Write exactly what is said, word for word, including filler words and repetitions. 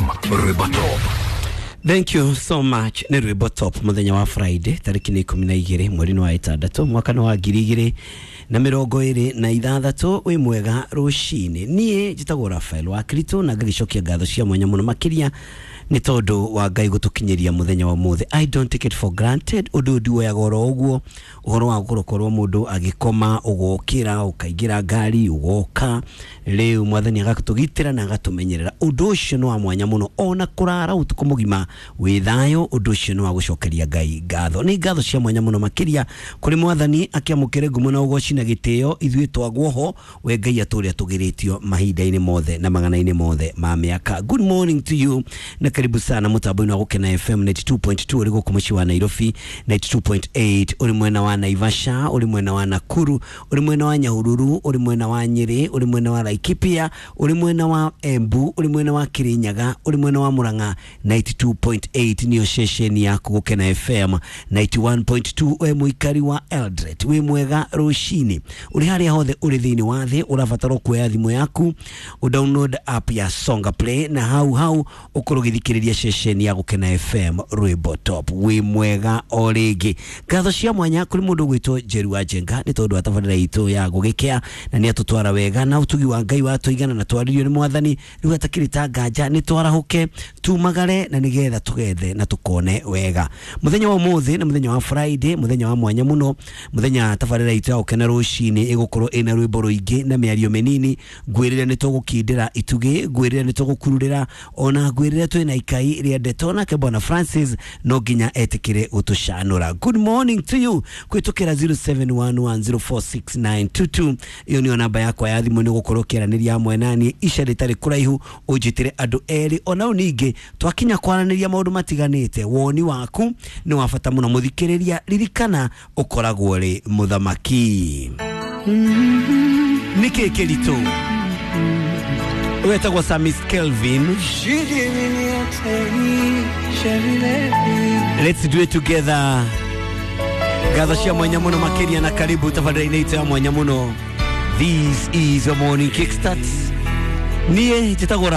Rwimbo Top. Thank you so much. Nĩ rwĩmbo top mũthenya wa Friday tarĩki nĩ ikũmi na igĩrĩ mweri-inĩ wa ĩtandatũ mwaka nĩ wa ngiri igĩrĩ na mĩrongo ĩrĩ na ithathatũ. Wĩ mwega rũcinĩ, niĩ njĩtagwo Rafael wa Kristo na ngagĩcokia ngatho cia mwanya mũno makĩria nĩ tondũ wa Ngai gũtũkinyĩria mũthenya wa ũmũthĩ. I don't take it for granted. Ũndũ ũyũ ndiwoyaga oro ũguo, ũhoro wa gũkorwo mũndũ agĩkoma ũgokĩra ũkaingĩra ngari ũgoka, rĩu mwathani agatũgitĩra na agatũmenyerera. Ũndũ ũcio nĩ wa mwanya mũno, ona kũrara ũtukũ mũgima wĩ thayũ, ũndũ ũcio nĩ wa gũcokeria Ngai ngatho. Nĩ ngatho cia mwanya mũno makĩria kũrĩ mwathani, akĩamũkĩre ngumo na ũgoci na gĩtĩo. Ithuĩ twagwo ho, we Ngai atũrĩa tũgĩrĩtio mahinda-inĩ mothe na magana-inĩ mothe ma mĩaka. Good morning to you na karibu sana mũtambo-inĩ wa Gũkena F M ninety-two point two ũrĩ gũkũ mũciĩ wa Nairobi, ninety-two point eight ũrĩ mwena wa Naivasha, ũrĩ mwena wa Nakuru, ũrĩ mwena wa Nyahururu, ũrĩ mwena wa Nyeri, ũrĩ mwena wa Laikipia, ũrĩ mwena wa Embu, ũrĩ mwena wa Kirinyaga, ũrĩ mwena wa Murang'a. ninety-two point eight niyo ceceni yaku Gũkena F M. ninety-one point two we mũikari wa Eldoret, wĩ mwega rũcinĩ, ũrĩ harĩa hothe ũrĩ thĩinĩ wa thĩ, ũrabatara kuoya thimũ yaku ũdownload app ya Songa Play na hau hau ũkorwo ũgĩthikĩrĩria ceceni ya Gũkena F M rwĩmbo top. Wĩ mwega o rĩngĩ, ngatho cia mwanya kũrĩ mũndũ ũgwĩtwo Njeru wa Njenga nĩ tondũ wa tabarĩra itũ ya gũgĩkĩa na nĩ atũtwara wega na ũtugi wa Ngai watũigana na twaririo nĩ mwathani rĩu atakĩrĩ ta nganja nĩ twarahũke tumagare na nĩgetha tũgethe na tũkone wega. Mũthenya wa ũmũthĩ nĩ mũthenya wa Friday, mũthenya wa mwanya mũno, mũthenya tabarĩra itũ ya Gũkena rũcinĩ ĩgũkorwo ĩna rwĩmbo rũingĩ na mĩario mĩnini. Ngwĩrĩre nĩ tũgũkindĩra itugĩ, ngwĩrĩre nĩ tũgũkururĩra, ona ngwĩrĩre twĩna ikai rĩa ndeto nake Bwana Francis no nginya etĩkĩre gũtũcanũra. Good morning to you kũhĩtũkĩra zero seven one one zero four six nine two two, ĩyo nĩyo namba yakwa ya thimũ, nĩ gũkorwo ũkĩaranĩria hamwe naniĩ ica rĩtarĩ kũraihu, ũnjĩtĩre andũ erĩ ona ningĩ twakinya kwaranĩria maũndũ matiganĩte. Woni waku nĩ wa bata mũno mũthikĩrĩria, ririkana ũkoragwo ũrĩ mũthamaki. Nĩkĩ kĩritũ? Wetagwo Samis Kelvin. Let's do it together. Ngatho cia mwanya mũno makĩria na karibu tabarĩra-inĩ itũ ya mwanya mũno. This is your morning kickstart. Niĩ njĩtagwo